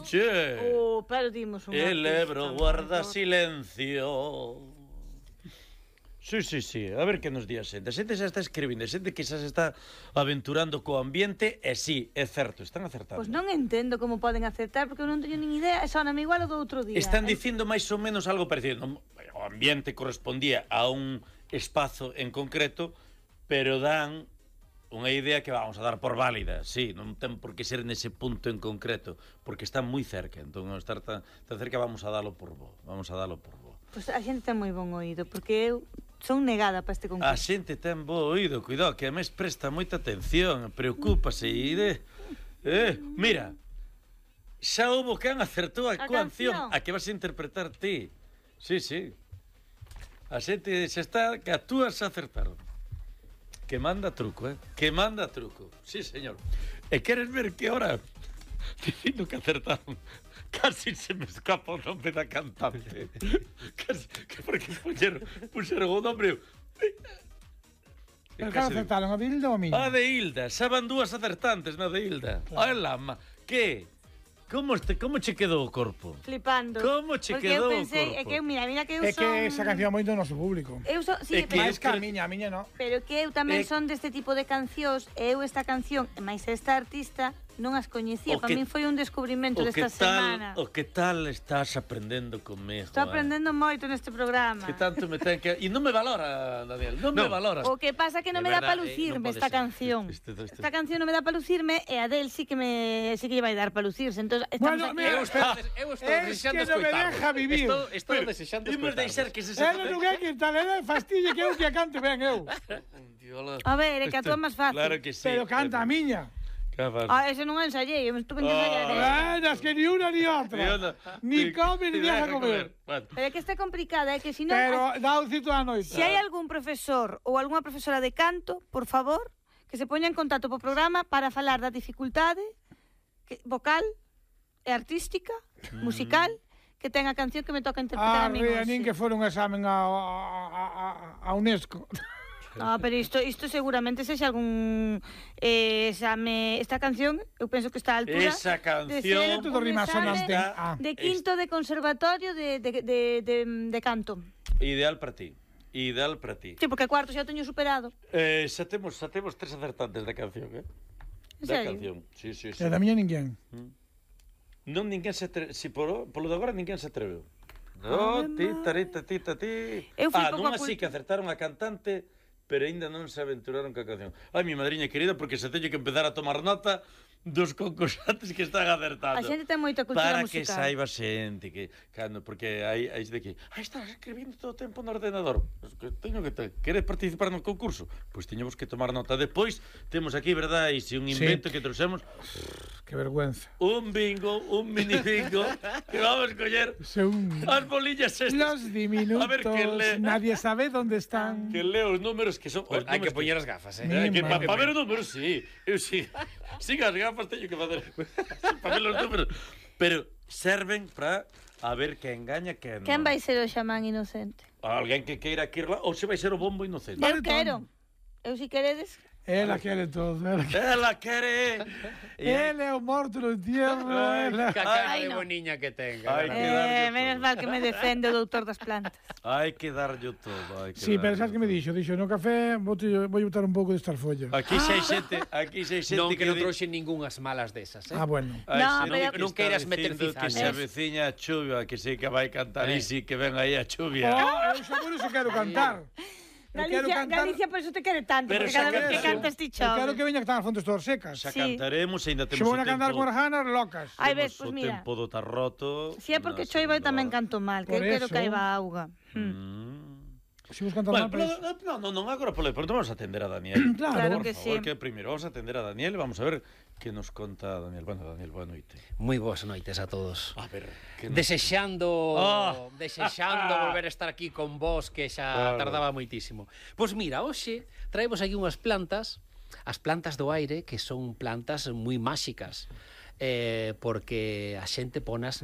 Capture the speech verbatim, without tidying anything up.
Che. Oh, pero dimos un El Ebro guarda silencio. Sí, sí, sí. A ver que nos di a xente. A xente xa está escribindo, a xente que xa se está aventurando co ambiente, e sí, é certo, están acertando. Pois non entendo como poden acertar, porque eu non teño nin idea, e soname igual o do outro día. Están dicindo máis ou menos algo parecido. O ambiente correspondía a un espazo en concreto, pero dan unha idea que vamos a dar por válida. Sí, non ten por que ser nese punto en concreto, porque está moi cerca. Entón, ao estar tan, tan cerca, vamos a dalo por bo. Vamos a dalo por bo. Pois a xente ten moi bon oído, porque eu son negada para este concurso. A xente ten bo oído, cuidado, que a mes presta moita atención, preocúpase e de... Eh, mira, xa houbo quen acertou a, a canción, a que vas a interpretar ti. Sí, sí. A xente xa está, que a túas acertaron. Que manda truco, eh? Que manda truco. Sí, señor. E queres ver que hora? Dicindo que acertaron. Casi se me escapa o nome da cantante. Casi, que porque puxeron, puxeron o nome... Pero que acertaron, a de Hilda ou a miña? A de Hilda. Xa van dúas acertantes na de Hilda. Claro. Ai, lama. Que? Como, este, como che quedou o corpo? Flipando. Como che porque quedou eu pensei, o corpo? é que eu, mira, mira que eu é son... É que esa canción moito do noso público. Eu son, sí, é que pero... Mais que a miña, a miña non. Pero que eu tamén é... son deste tipo de cancións, e eu esta canción, e máis esta artista, non as coñecía. Para min foi un descubrimento desta semana. O que tal estás aprendendo conmigo? Estou aprendendo eh? moito neste programa. Que tanto me ten que... E non me valora, Daniel, non no. me valora. O que pasa que non me dá para lucirme eh, no esta ser. canción. Este, este, este. Esta canción non me dá para lucirme, e a del sí que me sí que lle vai dar para lucirse. Entón, estamos bueno, aquí... Mira, eu estou, eu estou desexando escoitar. Es que non me deja vivir. Estou, estou desexando escoitar. Imos deixar que se... Ela non é que tal, ela fastille que eu que a cante ben eu. A ver, é que a túa máis fácil. Claro que sí. Pero canta a miña. Ah, ese non ensayei, eu estuve que ensayar. Ah, es que ni una ni outra. Ni come ni deja comer. Pero é que está complicada, é que si non... Pero dá un cito a noite. Se hai algún profesor ou algunha profesora de canto, por favor, que se poña en contacto po programa para falar da dificultade vocal e artística, musical, que ten a canción que me toca interpretar a mí. Ah, nin que fora un examen a, a, a, a UNESCO. No, pero isto isto seguramente sexa algún eh, exame, esta canción, eu penso que está a altura. Esa canción de ser todo rima sonante ah, de quinto de conservatorio de de de de, de canto. Ideal para ti. Ideal para ti. Sí, porque cuarto xa o teño superado. Eh, xa temos, xa temos tres acertantes da canción, eh? Da canción. Sí, sí, sí. E da miña ninguén. Mm. Non ninguén se atreve, si polo, polo de agora ninguén se atreveu. No, tita, tita, tita, ti. Ah, non así que acertaron a cantante, pero aínda non se aventuraron ca canción. Ai, mi madriña querida, porque se teño que empezar a tomar nota dos concursantes que están acertando. A xente ten moita cultura para musical. Para que saiba xente que cando porque hai hai de que, "Ai, estás escribindo todo o tempo no ordenador." Pues que teño que te, queres participar no concurso? Pois pues teñemos que tomar nota. Depois temos aquí, verdad, e se un invento sí. que trouxemos, que vergüenza. Un bingo, un mini bingo que vamos a coller un... as bolillas estas. Los diminutos, a ver, que le... nadie sabe dónde están. Que leo os números que son... Pues hai que poñer as gafas, eh? Hai que, para pa ver os números, sí. Eu sí. Sí, as gafas teño que facer para ver os números. Pero serven para a ver que engaña que non. Quen vai ser o xamán inocente? Alguén que queira que irla, ou se vai ser o bombo inocente. Eu quero. Eu si queredes... Ela quere todo. Ela quere. Ela quere. Ele é o morto no entierro. Que cara de boniña que tenga. Eh, menos mal que me defende o doutor das plantas. Hai que darlle todo. Hai que sí, pero sabes que me dixo? Dixo, no café vou botar un pouco de estarfollo. Aquí xa hai xente, aquí xa hai xente non que non trouxe ningunhas malas desas, eh? Ah, bueno. No, pero non queiras meter cifras. Que se aveciña a chuvia, que sí que vai cantar e sí que ven aí a chuvia. Oh, eu xa por iso quero cantar. Galicia, Galicia por eso te quere tanto, pero porque cada vez que cantas ti chove. Eu quero que veña que están as fontes todas secas. Xa cantaremos, ainda temos o tempo. Se vou a cantar con arjanas locas. Ai, ves, pois mira. O tempo do tarroto. Si é porque choiva tamén canto mal, que eu quero que aiba auga. Se vos cantar mal, pois... Non, non, non, agora polo pronto vamos a atender a Daniel. Claro, por que favor, sí. Que primeiro vamos a atender a Daniel, vamos a ver que nos conta Daniel. Bueno, Daniel, boa noite. Moi boas noites a todos. A ver, que desexando, oh. desexando volver a estar aquí con vos, que xa claro. tardaba moitísimo. Pois mira, hoxe traemos aquí unhas plantas, as plantas do aire, que son plantas moi máxicas, eh, porque a xente ponas